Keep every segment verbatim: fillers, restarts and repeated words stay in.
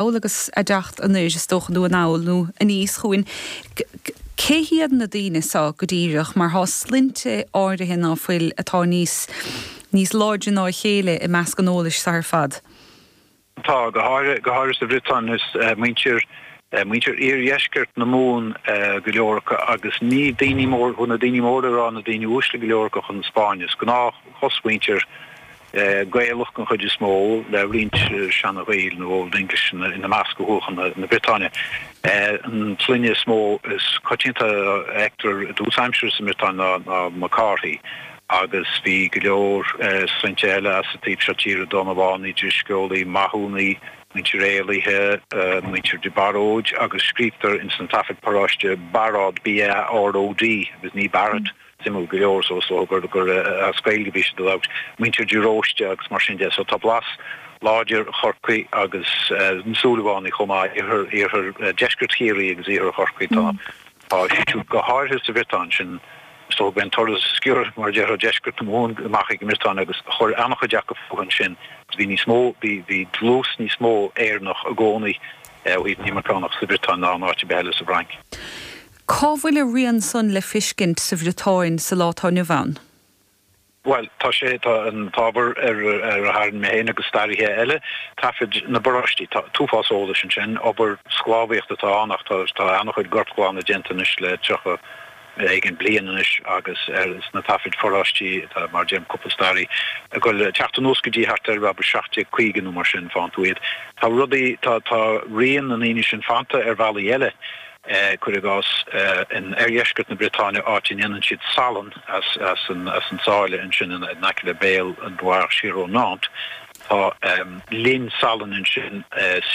Agus a dteacht anoir, is dócha, nó anall nó aníos chugainn. Cé hiad na daoine so go díreach, mar tá sloinnte áirithe ná fuil atá níos níos láidre ná a chéile i measc an eolais so ar fad? Tá, go háirithe go háirithe sa Bhriotáin, is muintir muintir iardheisceart na Mumhan go leor acu, agus ní daoine mór na daoine mór le rá, na daoine uaisle go leor acu chun na Spáinne. Is gnáth chosmhuintir Gaelach den chuid is mó, le roinnt seana-Ghaeil nó Old English ina measc, a chuaigh chun na Briotáine. An tsloinne is mó is coitianta a fheictear i dtús aimsire sa mBriotáin ná McCarthy, agus bhí go leor sloinnte eile as an taobh seo tíre, Donnabhánaigh, Drisceolaigh, Mathúnaigh, muintir Éalaithe, muintir de Baróid, agus scríobhtar ins na taifid paróiste Barod, B A R O D, agus ní Barrett. Suimiúil go leor, so is dócha gur gur as Gaeilge a bhí siad ag labhairt, muintir de Róiste agus mar sin de. So tá blas láidir Chorcaí agus na Súilleabhánaigh chomh maith, iarthar iarthar deisceart Chiarraí agus iarthar Chorcaí, tá tá siad go háirithe sa Bhriotáin sin. Is dócha go an turas sciorr, mar a déarfá, deisceart na Mumhan amach ag an mBriotáin agus chuir an-chuid acu fúthu ansin. Bhí níos mó, bhí bhí dlús níos mó Éireannach i gcónaí ó thaobh na n-imirceánach sa Bhriotáin ná in áit ar bith eile sa bhFrainc. Cá bhfuil a rian san le fiscint sa Bhriotáin sa lá atá inniu ann? Bhuel, tá sé, tá an t-ábhar ar ar a tharraing mé féin agus staraithe eile, taifid na bparóistí, tá t-uafás eolais ansin, obair sclábhaíochta atá ann ach tá tá an-chuid gortghlanadh déanta anois le tríocha éigin bliain anois agus ar sna taifid pharóistí atá, mar a deirim, cúpla staraí ag dul teacht anuas go dtí thart ar abair seacht déag caoga nó mar sin, faigheann tú iad. Tá rudaí, tá tá rian na ndaoine sin fanta ar bhealaí eile. Cuir i gcás, in oirdheisceart na Briotáine, áit a ndéanann siad salann as as an as an sáile ansin in aice le béal an Loire siar ó Nantes, tá linn salainn ansin,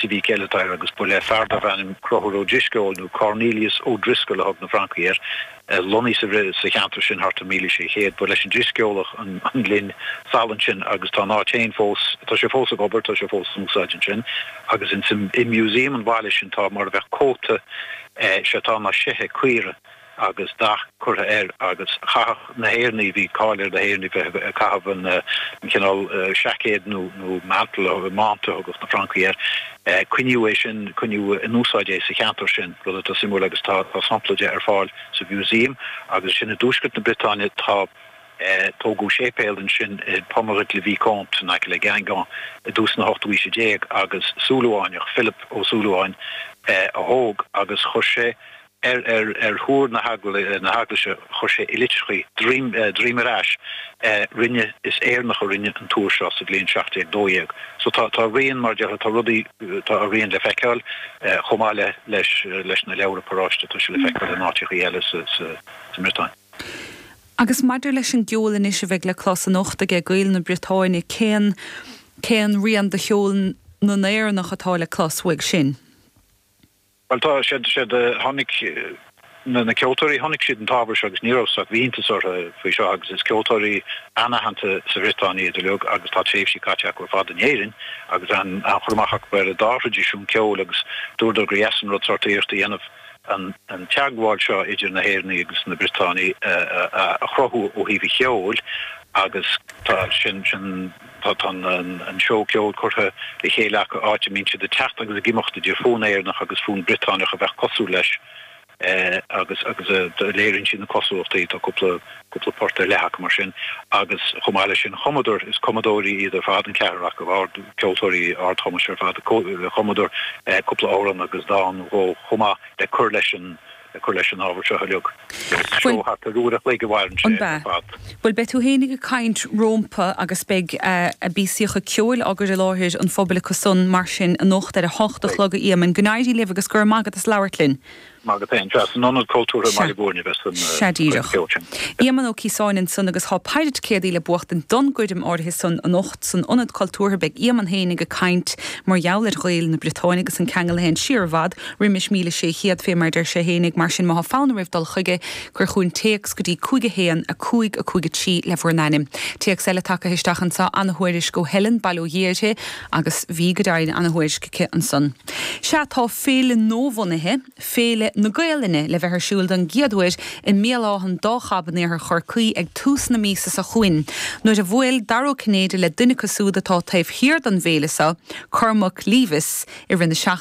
Civiquel atá air, agus ba le fear darbh ainm Conchúr Ó Drisceoil, nó Cornelius O'Driscoll a thug na Francaigh air, lonnaithe sa sa cheantar sin thart ar míle sé chéad. Ba leis an Drisceolach an an linn salainn sin agus tá an áit féin fós, tá sé fós ag obair, tá sé fós in úsáid ansin. Agus in i museum an bhaile sin tá mar a bheadh cóta, sé atá ná seithe caora agus dath curtha air, agus chaitheadh na hÉireannaigh, bhí cáil ar na hÉireannaigh bheith ag caitheamh an an cineál seaicéad nó nó mantle, manta a thugadh na Francaigh air. Coinníodh é sin, coinníodh in úsáid é sa cheantar sin, rud atá suimiúil, agus tá tá sampla de ar fáil sa mhúsaem. Agus sin i dtuaisceart na Briotáine, tá tógadh séipéal ansin i Pommerit-le-Vicomte in aice le Guingamp i dtús na hochtú haoise déag, agus Súilleabhánach, Philip Ó Súilleabháin, a thóg, agus chuir sé ar ar ar thúr na heaglaise, chuir sé i litreachaí droim droim ar ais, rinne is Éireannach a rinne an túr seo sa bhliain seacht déag dó dhéag. So tá tá rian, mar a déarfá, tá rudaí, tá a rian le feiceáil chomh maith le leis leis na leabhra paróiste, tá sé le feiceáil in áiteachaí eile sa sa sa mBriotáin. Agus maidir leis an gceol anois a bheidh le clos anocht aige Gaeil na Briotáine, cén cén rian de cheol na nÉireannach atá le clos uaidh sin? Bhuel, tá siad siad tháinig na na ceoltóirí, chonaic siad an t-ábhar seo agus ní raibh ach bhí iontas orthu faoi seo, agus is ceoltóirí an-aitheanta sa Bhriotáin iad uilig agus tá tréimhsí caite acu ar fad in Éirinn agus an-chur amach acu ar an dá thraidisiún ceoil, agus dúradar gur dheas an rud sórt iarracht a dhéanamh an an teagmháil seo idir na hÉireannaigh agus na Briotánaigh a chruthú ó thaobh an cheoil. Agus tá sin sin tá tá an an seó ceoil curtha le chéile acu, áit a mbíonn siad ag teacht agus ag imeacht idir fonn Éireannach agus fonn Briotáineach a bheadh cosúil leis, agus agus léiríonn siad na cosúlachtaí. Tá cúpla cúpla port ar leith acu mar sin, agus chomh maith leis sin chumadar, is cumadóirí iad ar fad, an ceathrar acu, ard ceoltóirí ardchumais ar fad, chumadar cúpla amhrán agus dán nó dhó chomh maith le cur leis an le cur leis an ábhar seo uilig. Seó thart ar uair a chloig a mhaireann sé ar fad. Bhuel, beidh tú fhéinig ag caint rómpa agus beidh a bpíosaíocha ceoil á gcur i láthair an phobail acu san mar sin anocht ar a hocht a chlog, a Éamoinn. Go n-éirí libh agus go raibh maith agat as labhairt linn. Maith agat féin. Sea, san Ionad Cultúrtha i mBaile Bhúirne a bheas an Sea díreach. ceol sin. Éamonn Ó Ciosáin ansan agus tá péire ticéadaí le buachtaint don gcoirm áirithe san anocht san Ionad Cultúrtha. Beidh Éamonn fhéinig ag caint mar gheall ar Ghaeil na Briotáine agus an ceangal a théann siar i bhfad roimis míle sé chéad, fé mar deir sé fhéinig. Mar sin, má thá fonn oraibh dul chuige, cuir chugainn téacs go dtí cúig a haon, a cúig, a cúig a trí le bhur n-ainm. Téacs eile tagtha isteach anso, ana-thuairisc ó Helen, bail ó Dhia uirthi, agus bhí go deimhin ana-thuairisc aici ansan. Sea, tá féile nuabhunaithe, Féile na Gaelainne le bheith ar siúl don gcéad uair i mBéal Átha an Dá Chab in iarthar Chorcaí ag tús na míosa seo chugainn. Nuair a bhuail Dara Ó Cinnéide le duine acu siúd atá taobh thiar den bhféile seo, Cormac Levis i rith na seachtaine.